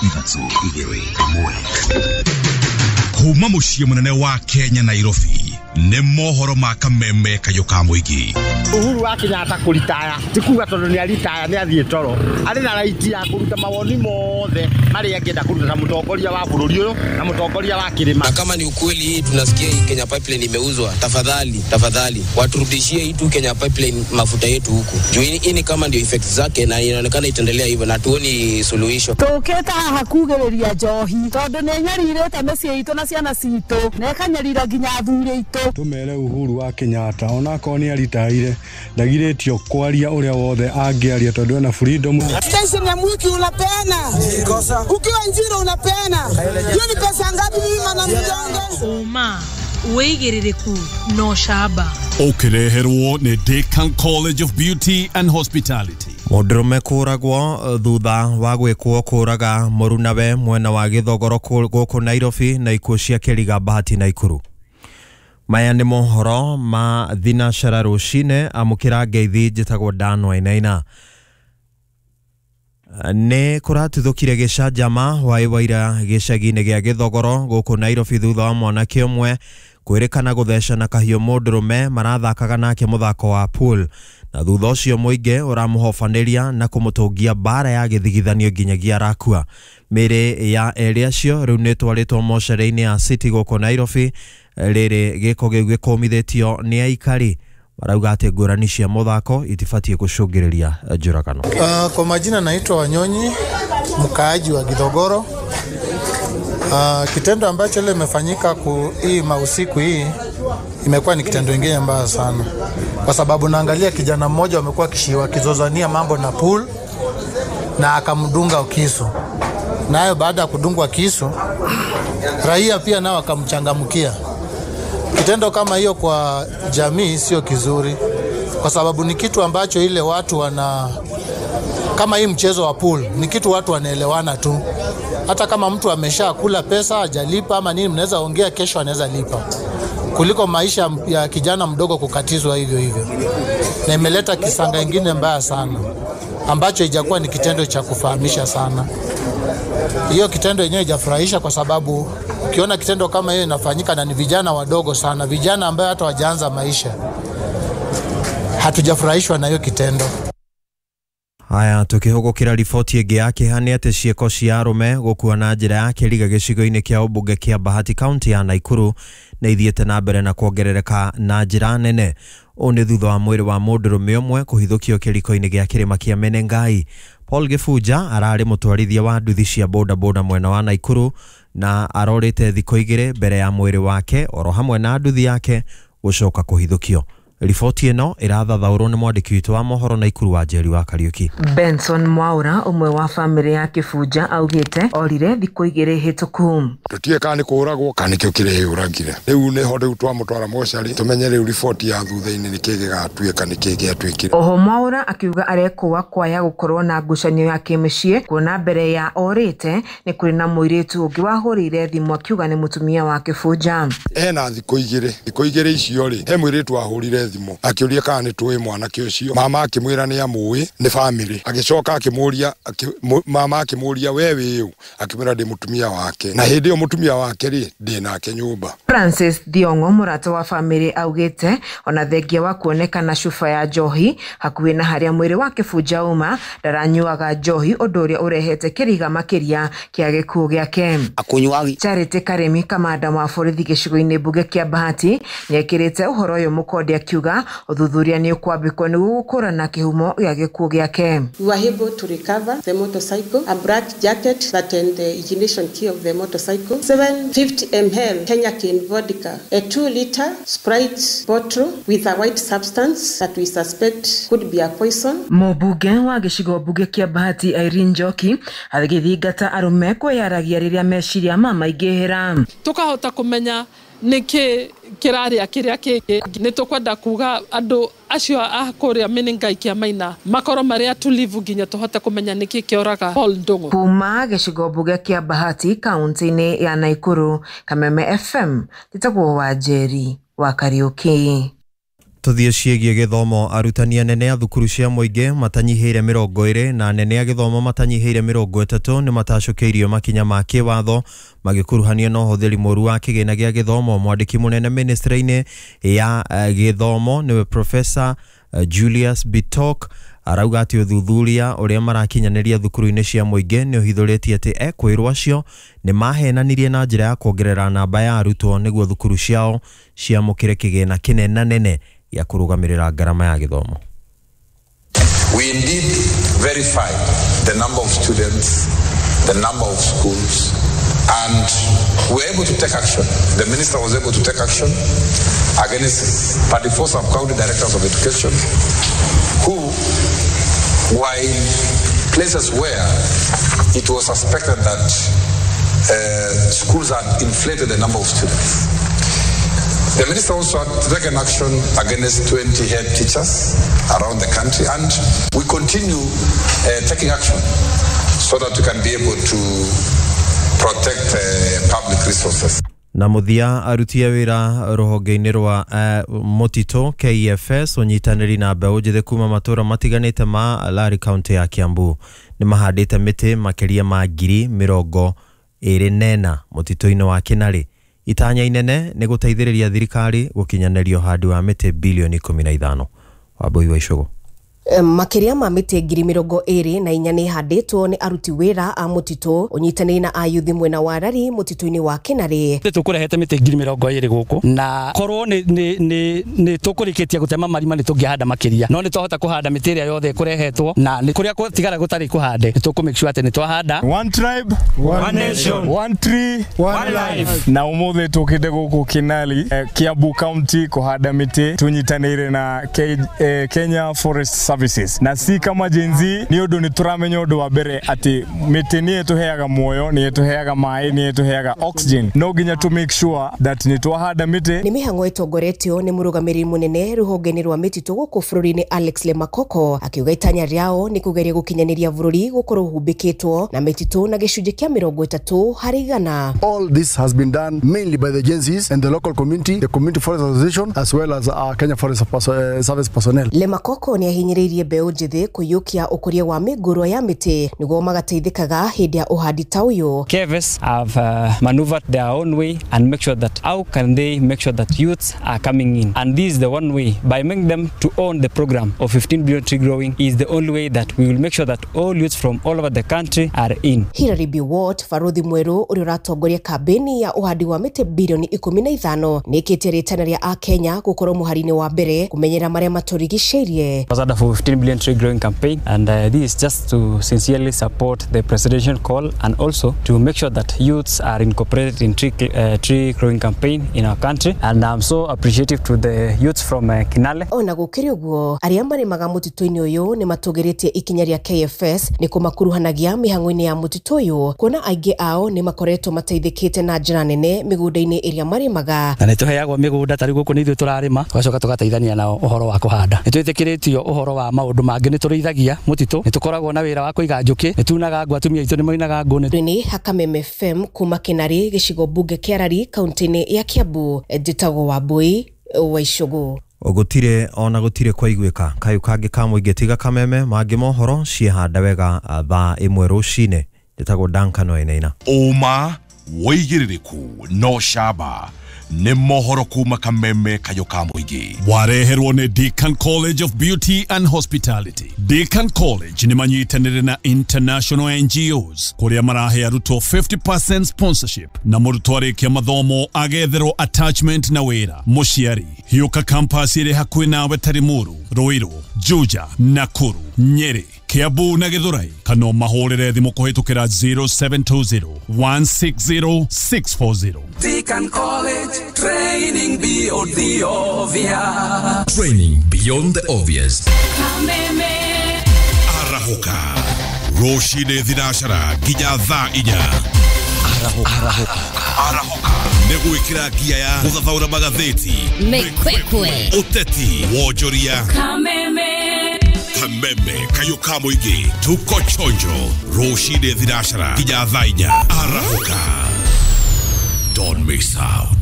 3, 2, 1. Kuma mũciĩ mũnene wa Kenya Nairobi nĩ mohoro ma kameme kayũ ka mũingĩ. Uhuru wa Kenyatta kũritaya ti kuga tondũ nĩ aritaya nĩ athiĩ toro, arĩ na right ya kũruta mawoni mothe marĩa angĩenda kũruta ta mũtongoria wa bũrũri ũyũ na mũtongoria wa kĩrĩma. Na kama ni ukweli hii tunasikia hii Kenya Pipeline imeuzwa, tafadhali tafadhali waturudishie hii tu Kenya Pipeline mafuta yetu huku juu hii ni kama ndio effect zake, na inaonekana itaendelea hivyo na tuoni suluhisho. Tũkĩte haha kugĩrĩria njohi tondũ nĩ nyarirĩte mĩciĩ itũ na ciana citũ na ĩkanyarira nginya athuri aitũ. Tumere Uhuru wa Kenyatta onakorwo nĩ aritaire ndagirĩtio kwaria ũrĩa wothe angĩaria tondũ ena freedom. Station ya mwiki unapeana, ukiwa Njiro unapeana, hiyo ni pesa ngapi? Mimi mana mjonge uma wĩigĩrĩrĩku no camba ũkĩreherwo nĩ Decan College of Beauty and Hospitality. Mũndũrũme kũragwo thutha wa gwĩkwo kũraga mũrunawe mwena wa Gĩthogoro gũkũ Nairobi na ikuũ cia Kĩriga Bahati Naikuru. Maya nĩ mohoro ma thinacara rũcinĩ, amũkĩra ngeithi njĩtagwo Dan Wainaina. Nĩ kũratuthũkire gĩcanjama hwaĩ wa ira gĩcagi-inĩ gĩa Gĩthogoro gũkũ Nairobi thutha wa mwanake ũmwe kwĩrĩkana gũthecana kahiũ mũndũrũme marathakaga nake mũthako wa pool, na thutha ũcio mũingĩ ũramũhobanĩria na kũmũtũngia mbara ya gĩthigithanio nginyagia arakua. Mĩĩrĩ ya erĩ acio rĩu nĩ ĩtwarĩtwo mocarĩ-inĩ ya City gũkũ Nairobi, rĩrĩ gĩko gĩu gĩkũmithĩtio nĩ aikari marauga atĩ ngũrani cia mũthako itibatiĩ gũcũngĩrĩria njũragano. Kwa majina naitwa Wanyonyi, mkaaji wa Githogoro. Kitendo ambacho leo imefanyika hii mausiku hii imekuwa ni kitendo kingine mbaya sana, kwa sababu naangalia kijana mmoja amekuwa wakizozania mambo na pool na akamdunga kisu, nayo baada ya kudungwa kisu raia pia nao akamchangamkia. Kitendo kama hiyo kwa jamii sio kizuri, kwa sababu ni kitu ambacho ile watu wana, kama hii mchezo wa pool ni kitu watu wanaelewana tu. Hata kama mtu ameshakula pesa hajalipa ama nini, mnaweza ongea, kesho anaweza lipa, kuliko maisha ya kijana mdogo kukatizwa hivyo hivyo. Na imeleta kisanga kingine mbaya sana ambacho haijakuwa ni kitendo cha kufahamisha sana. Hiyo kitendo yenyewe haijafurahisha, kwa sababu ukiona kitendo kama hiyo inafanyika na ni vijana wadogo sana, vijana ambao hata hawajaanza maisha, hatujafurahishwa na hiyo kitendo. Haya, tukihũgũkĩra riboti ĩngĩ ya kĩeha nĩ atĩ ciĩko cia arũme gũkua na njĩra ya kĩriga gĩcigo-inĩ kĩa ũmbunge kĩa Bahati kaunti ya Naikuru nĩ ithiĩte na mbere na kuongerereka na njĩra nene. Ũũ nĩ thutha wa mwĩrĩ wa mũndũrũme ũmwe kũhithũkio kĩriko-inĩ gĩa kĩrĩma kĩa Menengai. Paul Gĩbunja ararĩ mũtwarithia wa nduthi cia bodaboda mwena wa Naikuru na arorĩte thikũ igĩrĩ mbere ya mwĩrĩ wake oro hamwe na nduthi yake gũcoka kũhithũkio. Riboti ĩno ĩrathathaũrwo nĩ mwandĩki witũ wa mohoro Naikuru wa Njeri wa Kariuki. Benson Mwaura ũmwe wa famĩlĩ ya Kĩbunja augĩte orire thikũ igĩrĩ hĩtũku. Tũtiĩ kana nĩ kũũragwo kana nĩkĩo kĩreyũragire. Rĩu nĩho rĩu twamũtwara mocarĩ tũmenye rĩu riboti ya thutha-inĩ nĩkĩ gĩgatuĩka nĩkĩ gĩatuĩkire. Oho Mwaura akiuga arekũa kwaya gũkorwo na ngucanio ya kĩmĩciĩ, kuona mbere ya orĩte nĩ kũrĩ na mũirĩtu ũngĩ wahũrĩire thimũ akiuga nĩ mũtumia wa Kĩbunja. Ena thikũ igĩrĩ, thikũ igĩrĩ icio rĩ, he mũirĩtu wahũrire thimũ akĩũria kana nĩ tũĩ mwanake ũcio. Mama akĩmwĩra nĩ amũĩ, nĩ family. Agĩcoka akĩmũria, mama akĩmũria we wĩ ũ, akĩmwĩra ndĩ mũtumia wake, na hĩndĩ ĩyo mũtumia wake rĩ ndĩ nake nyũmba. Francis Thiong'o mũrata wa family augĩte ona thengia wa kuonekana cuba ya njohi hakuhĩ na harĩa mwĩrĩ wa Kĩbunja uma ndaranyuaga njohi, ũndũ ũrĩa ũrehete kĩriga makĩria kĩa gĩkuũ gĩake. Charity Karemi kamanda wa borithi gĩcigo-inĩ mbunge kĩa Bahati nĩekĩrĩte ũhoro ũyũ mũkonde akiuga ũthuthuria nĩ ũkwambĩkwo nĩguo gũkũrana kĩhumo gĩa gĩkuũ gĩake. We were able to recover the motorcycle, a black jacket that and the ignition key of the motorcycle, 750 ml Kenya Cane vodka, a 2-liter Sprite bottle with a white substance that we suspect could be a poison. Mũmbunge wa gĩcigo mbunge kĩa Bahati Irene Njoki agĩthingata arũme kwĩyaragia rĩrĩa meciria mamaingĩhĩra. Tukahota kũmenya nĩkĩ kĩrarĩa kĩrĩa kĩngĩ. Nĩ tũkwenda kuga andũ acio a kũrĩa Menengai kĩa Maina makorwo marĩ atulivu nginya tũhote kũmenya nĩkĩ kĩoraga Paul Ndung'u. Kuma gĩcigo mbunge kĩa Bahati kaunti-inĩ ya Naikuru, Kameme FM, njĩtagwo Wanjeri wa Kariuki. Tuthiĩ ciĩgiĩ gĩthomo. Arutani anene a thukuru cia mũingĩ matanyihĩire 20 na anene a gĩthomo matanyihĩire 30 nĩ matacũkĩirio makinya ma kĩwatho magĩkuruhanio na ũhũthĩri mũru wa kĩgĩna gĩa gĩthomo. Mwandĩki mũnene ministry-inĩ ya gĩthomo nĩwe Professor Julius Bitok arauga atĩ ũthuthuria ũrĩa marakinyanĩria thukuru-inĩ cia mũingĩ nĩ ũhithũrĩtie atĩ ekwĩrwo acio nĩ mahenanirie na njĩra ya kuongerera namba ya arutwo nĩguo thukuru ciao ciamũkĩre kĩgĩna kĩnenanene ya kũrũgamĩrĩra ngarama ya gĩthomo. We indeed verified the number of students, the number of schools, and we were able to take action. The minister was able to take action against 34 sub-county directors of education who were in places where it was suspected that schools had inflated the number of students. The minister also had taken action against 20 head teachers around the country, and we continue taking action so that we can be able to protect public resources. Na mũthia, aruti a wĩra rũhonge-inĩ rwa mũtitũ KFS ũnyitanĩri na mbeũ njĩthĩ kuma matũra matiganĩte ma Lari kaunti ya Kiambu nĩ mahandĩte mĩtĩ makĩria ma 24,000 mũtitũ-inĩ wa Kinarĩ. Itanya inene nĩ gũteithĩrĩria thirikari gũkinyanĩria ũhandi wa mĩtĩ bilioni 15. Wambui wa Icũgũ. Makĩria ma mĩtĩ 24,000 nĩ ihandĩtwo nĩ aruti wĩra a mũtitũ ũnyitanĩri na ayuthi mwena wa Rari mũtitũ-inĩ wa Kinarĩ. Tũkũrehete mĩtĩ 20,000 gũkũ na korwo nĩ tũkũrĩkĩtie gũtema marima nĩ tũngĩhanda makĩria, no nĩ twahota kũhanda mĩtĩ ĩrĩa yothe ĩkũrehetwo na nĩ kũrĩa gũtigara gũtarĩ kũhande nĩ tũkũ make sure atĩ nĩ twahanda. One tribe, one nation, one tree, one life. Na ũmũthĩ tũkĩte gũkũ Kinarĩ, Kiambu County kũhanda mĩtĩ tũnyitanĩire na Kenya Forest Service. Na si kama Gen Z ni ũndũ nĩ tũramenya ũndũ wa mbere atĩ mĩtĩ nĩ ĩtũheaga muoyo, nĩ ĩtũheaga maĩ, nĩ ĩtũheaga oxygen. No nginya to make sure that nĩ twahanda mĩtĩ. Nĩ mĩhang'o ĩtongoretio nĩ mũrũgamĩrĩri mũnene rũhonge-inĩ rwa mĩtitũ gũkũ bũrũri-inĩ Alex Lemakoko akiuga itanya rĩao nĩ kũgeria gũkinyanĩria bũrũri gũkorwo ũhumbĩkĩtwo na mĩtitũ na gĩcunjĩ kĩa 30%. All this has been done mainly by the Gen Zs and the local community, the Community Forest Association, as well as our Kenya Forest Service personnel. Lemakoko nĩ ahinyĩrĩirie mbeũ njĩthĩ kũiyũkia ũkũria wa mĩngũrwa ya mĩtĩ nĩguo magateithĩkaga hĩndĩ ya ũhandi ta ũyũ. KFS have maneuvered their own way and make sure that how can they make sure that youths are coming in, and this is the one way by making them to own the program of 15 billion tree growing is the only way that we will make sure that all youths from all over the country are in. Hilary Biwott, barothi mwerũ ũrĩa ũratongoria kambĩni ya ũhandi wa mĩtĩ bilioni 15 nĩkĩtie rĩtana rĩa akenya gũkorwo mũhari-inĩ wa mbere kũmenyera marĩa matũrigicĩirie. For 15 billion tree growing campaign, and this is just to sincerely support the presidential call and also to make sure that youths are incorporated in tree growing campaign in our country, and I'm so appreciative to the youths from Kinale. Ona gũkĩrĩ ũguo, arĩa marĩmaga mũtitũ-inĩ ũyũ nĩ matũgĩrĩtie ikinya rĩa KFS nĩ kũmakuruhanagia mĩhang'o-inĩ ya mũtitũ ũyũ kuona aingĩ ao nĩ makoretwo mateithĩkĩte na njĩra nene mĩgũnda-inĩ ĩrĩa marĩmaga. Na nĩ tũheagwo mĩgũnda ta rĩu gũkũ nĩ ithuĩ tũrarĩma tũgacoka tũgateithania nao ũhoro wa kũhanda. Nĩ twĩtĩkĩrĩtio ũhoro wa maũndũ mangĩ, nĩ tũrĩithagia mũtitũ, nĩ tũkoragwo na wĩra wa kũiga njũkĩ, nĩ tunaga ngũ, atumia aitũ nĩ moinaga ngũ. Nĩ Hakameme FM kuma Kinarĩ gĩcigo mbunge kĩa Rari kaunti-inĩ ya Kiambu, njĩtagwo Wambui wa Icũgũ. Gũtirĩ ona gũtirĩ kwaiguĩka kayũ kangĩ ka mũingĩ tiga Kameme mangĩ mohoro ciehanda wega thaa 1 rũcinĩ. Njĩtagwo Duncan Wainaina. Ũma wĩigĩrĩrĩku no camba nĩ mohoro kuma Kameme kayũ ka mũingĩ. Wareherwo nĩ Deakin College of Beauty and Hospitality. Deakin College nĩ manyitanĩire na international NGOs kũrĩa marahe arutwo 50% sponsorship na mũrutwo arĩkia mathomo agetherwo attachment na wĩra. Mũciari hiũka campus ĩrĩ hakuhĩ nawe ta Limuru, Ruiru, Juja, Nakuru, Nyeri, Kiambu na Githurai, kana mahũrĩre thimũ kũhĩtũkĩra 0720 160 640. Deakin College, training beyond the obvious. Training beyond the obvious. Kameme. Arahũka rũcinĩ thinacara nginya thaa 4. Arahũka nĩ gwĩkĩra ngia ya gũthathaũra magathĩti, mĩkwekwe, ũteti, wonjoria. Kameme. Kameme kayũ ka mũingĩ tuko chonjo rũcinĩ thinacara nginya thaa 4. Arahũka. Don't miss out.